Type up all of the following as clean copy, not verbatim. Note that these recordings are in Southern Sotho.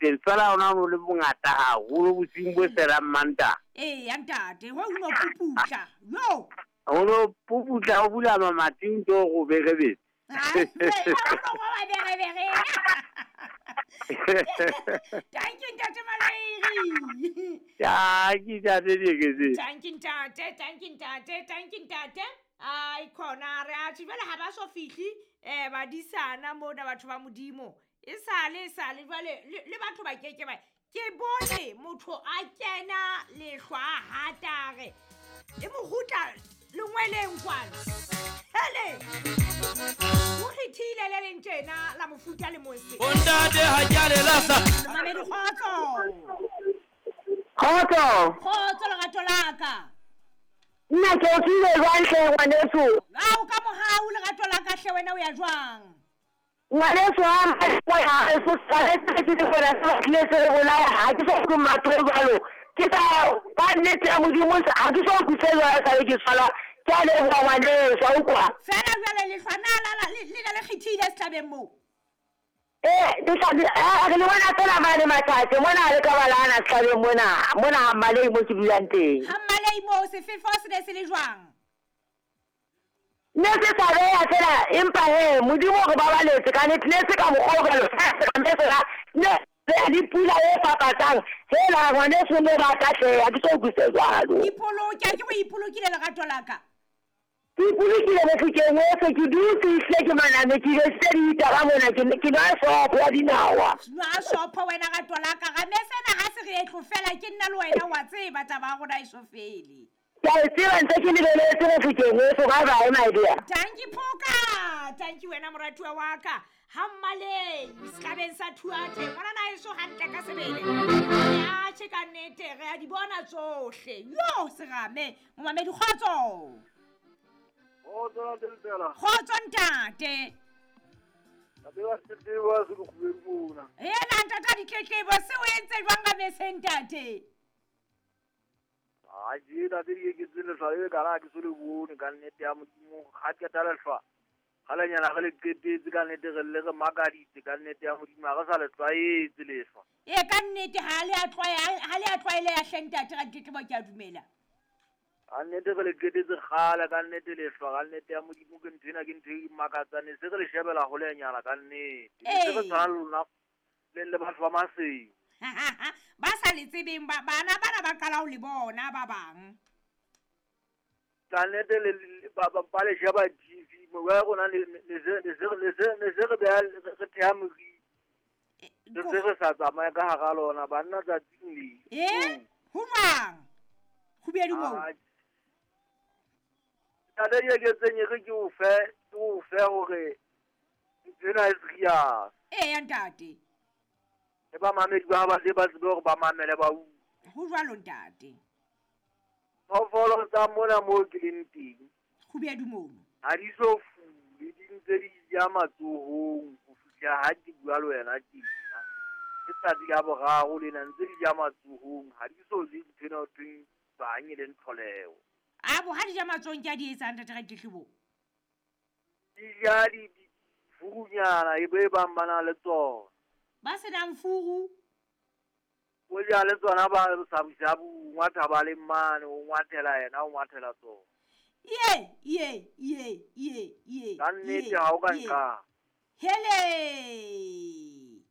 teng. Fela ona o le bongata haholo bosiung bo felang Mantaha. Eya ntate, ho no puputla. Yo. Ho no puputla o bula mamati o ntso o berebetse. Thank you ntate Malairi. Thank you ntate Dieketseng. Thank you ntate, thank you ntate, thank you ntate. Ai khona re a tjhe jwale ha ba so fihli badisana mona batho ba Modimo. E sale jwale le batho ba keke ba ke bone motho a kena lehlwa a hatare e mogutla lengweleng kwana. Hele o kgethile le leng tjena la mofuta le mose. Ntate ha ke a le lahla. Mamedi kgotso. Kgotso. Kgotso lerato la ka. Nna ke o tsile jwang hle ngwaneso? Ao ka mohau lerato la ka hle wena o ya jwang? Ngwaneso ha mma ke tlile se re bolaya ha ke so utlwe matho jwalo. Ke sa ka nnete ya Modimo ha ke so utlwe jwalo sa le ke tshwala. Ke a leboha ngwaneso a utlwa. Fela jwale lehlwa na la le ne le kgethile setlabeng moo. Re le bona fela mane Mathathe mona le ka balana setlabeng mona mona ha Mmalei mo ke dulang teng. Ha Mmalei moo sefefo se ne se le jwang? Ne se sa beya fela empa he Modimo re babaletse ka nnete ne se ka mokgwa o jwalo fela ne le pula e fapatsang hela ngwaneso ne ba ka hle ha ke so utlwise jwalo. Ipoloke ha ke go ipolokile lerato la ka. Ke ipolokile Mofokeng ohle ke dutse ehlile ke maname ke besitse ditaba mona ke nwa sopho ya dinawa. Nwa sopho wena rato la ka ga me sena ha se re etlo fela ke nna le wena wa tseba taba ya rona e so fele. Ke a e tseba ntse ke lebeletse Mofokeng ohle bye bye my dear. Thank you Phoka, thank you wena moratuwa wa ka. Ha Mmalei setlabeng sa Thuathe ngwana na eso hantle ka sebele. Ya tjhe ka nnete re a di bona tsohle. Yo serame momamedi kgotso. Kgotso ntate. Hela ntate ditletlebo se o entse jwang ka mese ntate? Ha je ntate Dieketseng lehlwa le ka la ke so le bone ka nnete ya Modimo ha qeta lehlwa. Kgalenyana re le qetetse ka nnete re le re makaditse ka nnete ya Modimo ha re sa le tlwaetse lehlwa. E ka nnete ha le a tlwaeleha hle ntate ra ditletlebo ke a dumela. Ka nnete re le qetetse kgale ka nnete lehlwa ka nnete ya Modimo ke ntho ena ke ntho e makatsang ne se re le shebela holenyana ka nnete. Ne se re tshwana le lona le batho ba Maseng. Ba sa le tsebeng bana bana ba qala ho le bona ba bang. Ka nnete le ba le sheba TV mo ya rona le se re beha re theha moriti. Le se re sa tsamaya ka hara lona banna tsatsing le. Ho jwang? Kgubedu moo. Ntate Dieketseng e re ke o fe hore ntho ena e serious. Eya ntate. Le bamamedi ba ba tle ba tsebe hore ba mamele ba utlwe. Ho jwalo ntate. Phoofolo tsa mona moo ke leng teng. Kgubedu mono. Ha di so fule di ntse di ja matsohong ho fihla ha ke bua le wena tjena. Ke tsatsi la boraro lena ntse di ja matsohong ha di so je ntho ena ho thweng bang e leng tlholeho. Abo ha di ja matsohong ke a di etsang ntate Raditlebo? Di ja di furunyana e be bang ba na le tsona. Ba senang furu? O ja le tsona ba sabusabu ngwatha ba le mane o ngwathela yena o ngwathela tsona. Ye ye ye ye ye. Ka nnete ha o ka nka. Hele.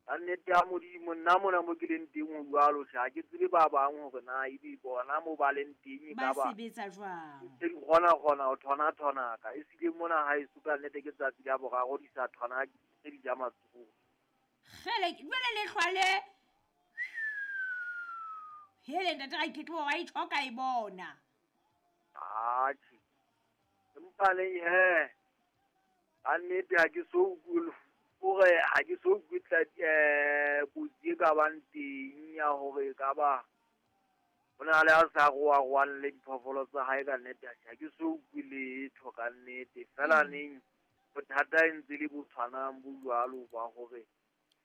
Ka nnete ya Modimo nna mona mo ke leng teng ho jwalo tjhe ha ke tsebe ba bang hore na ebe bona mo ba leng teng ba sebetsa jwang. Ke kgona ho thona thonaka e sile mona ha e suka nnete ke tsatsi la boraro di sa thona ke di ja matsoho. Kgele jwale lehlwa le hele ntate Raditlebo wa ithoka e bona. Atjhe. Empa le he ka nnete ha ke so utlwe hore ha ke so utlwe kotsi e ka bang teng ya hore e ka ba ho na le a sa roaroang le diphoofolo tsa hae ka nnete ha ke so utlwe letho ka nnete. Fela neng bothata e ntse le bo tshwanang bo jwalo ba hore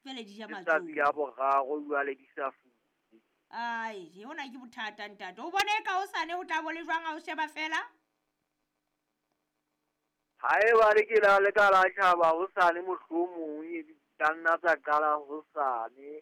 jwale di ja matsoho. Tsatsi la boraro jwale di sa fule. Ai, hona ke bothata ntate. O bone ka hosane ho tla bo le jwang ha o sheba fela? Haeba le ke la le ka la tjhaba hosane mohlomong e di ka nna tsa qala hosane.